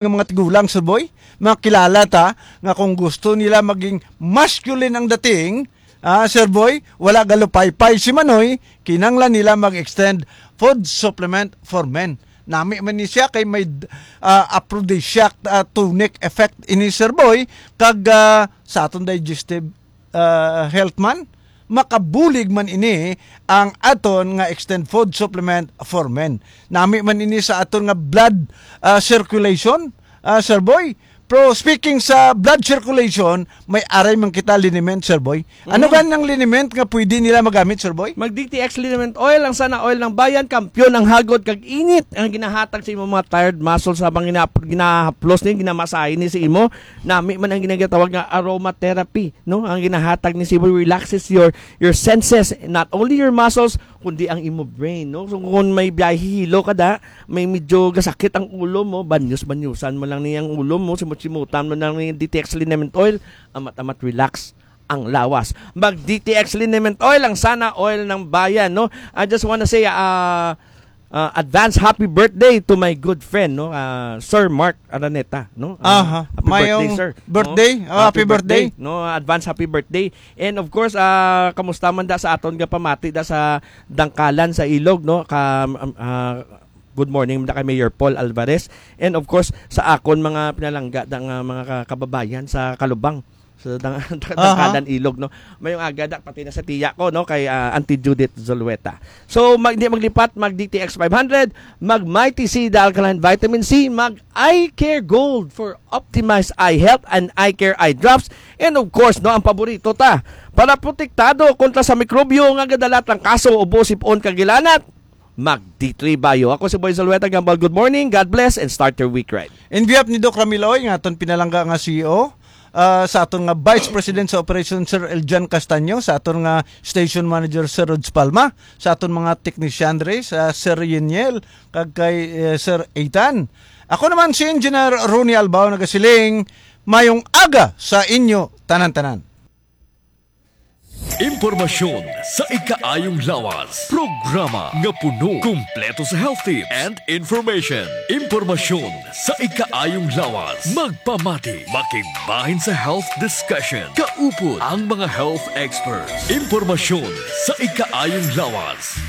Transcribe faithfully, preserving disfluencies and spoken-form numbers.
nga mga tigulang, Sir Boy, makilala ta nga kung gusto nila maging masculine ang dating, ah, Sir Boy, wala galupaypay si Manoy, kinanglan nila mag-extend food supplement for men. Nami man ni siya kay may, ah, aphrodisiac, ah, tonic effect ini, Sir Boy, kag, ah, sa aton digestive, ah, health man, makabulig man ini ang aton nga extend food supplement for men. Nami man ini sa aton nga blood, ah, circulation, ah, Sir Boy. Pero speaking sa blood circulation, may aray man kita liniment, Sir Boy. Ano Mm. gani ang liniment nga pwede nila magamit, Sir Boy? Mag D T X liniment oil, ang Sana Oil ng Bayan, kampiyon ang hagod kag init ang ginahatag sa imo mga tired muscles habang gina-, ginahaplos ni, ginamasahe ni sa imo. Nami man ang ginatawag nga aromatherapy, no? Ang ginahatag ni Sir Boy relaxes your, your senses, not only your muscles, kundi ang imo brain, no? So, kung may biyahe hilo ka da, may medyo gasakit ang ulo mo, banyos-banyusan mo lang niyang ulo mo, simot-simutan mo lang ni D T X liniment oil, amat-amat relax ang lawas. Mag D T X liniment oil, ang Sana Oil ng Bayan, no? I just wanna say, ah, ah, advance happy birthday to my good friend, no? Ah, Sir Mark Araneta, no? Ah, Aha. happy birthday, Mayong sir. birthday. No? Ah, happy Happy birthday. birthday, no? Advance happy birthday. And of course, ah, kamusta man da sa aton nga pamati da sa Dangkalan sa Ilog, no? Ka, um, ah, good morning da kay Mayor Paul Alvarez. And of course, sa akon mga pinalangga da nga mga ka-, kababayan sa Kalubang, sa Dang-, Aha. Dangkalan Ilog, no? Mayong aga da pati na sa tiya ko, no? Kay, ah, Auntie Judith Zulueta. So, mag-, di maglipat, mag D T X five hundred, mag Mighty C, the alkaline vitamin C, mag Eye Care Gold for optimized eye health and Eye Care eye drops. And of course, no, ang paborito ta, para protektado kontra sa mikrobyo nga gadala trangkaso, ubo, sipon, kag gilanat, mag D three Bio. Ako si Boy Zulueta Gambal. Good morning, God bless, and start your week right. In behalf ni Doc Ramil Oy, nga aton pinalangga nga C E O, ah, sa aton nga Vice President sa Operation, Sir Eljan Castaño, sa aton nga Station Manager, Sir Rods Palma, sa aton mga technician dre, sa Sir Yeniel, kag kay, eh, Sir Ethan. Ako naman si Engineer Ronnie Albao, nagasiling, mayong aga sa inyo tanan-tanan. Impormasyon sa ikaayong lawas. Programa nga puno, kumpleto sa health tips and information. Impormasyon sa ikaayong lawas. Magpamati, makigbahin sa health discussion. Kaupod ang mga health experts. Impormasyon sa ikaayong lawas.